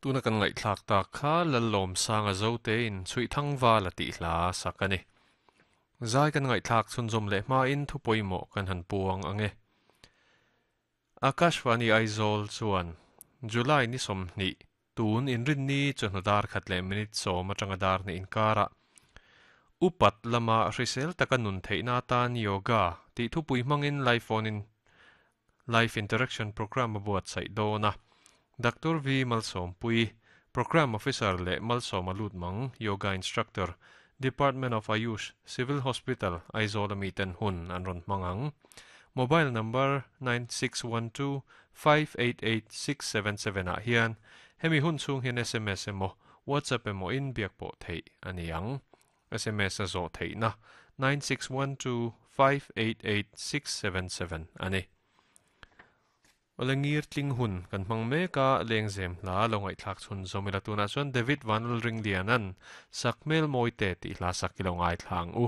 Tuna kan ngaihthlak tak kha Lallawmsanga Zotein Chhuihthangval a tih hla sak a ni. Zai kan ngaihthlak chhunzawm leh hmain thu pawimawh kan han puang ang e. Akashvani Aizawl chuan July ni 20 tun inrinni chawhnu dar khat leh minute 10 atanga dar hnih inkarah upat lama hrisel taka nun theihna atan yoga tih thupui hmangin live phone in Life Interaction Programme a buatsaih dawn a. Doctor V Malsawmpui, Programme Officer leh Malsawma Lutmang, Yoga Instructor, Department of Ayush, Civil Hospital, Aizawl a miten hun an rawn hmang ang. Mobile number 9612 588 677 ah hian hemi hun chhung hian sms emaw WhatsApp emaw in biak pawh theih a ni ang. Sms a zawh theihna 9612 588 677 a ni. Awle ngir tling hun kan hmang mek a, lengzem hla lo ngaihthlak chhun zawm ila tunah chuan David Vanlalringliana'n Sakhmel Mawite tih hla sak i lo ngaithla ang u.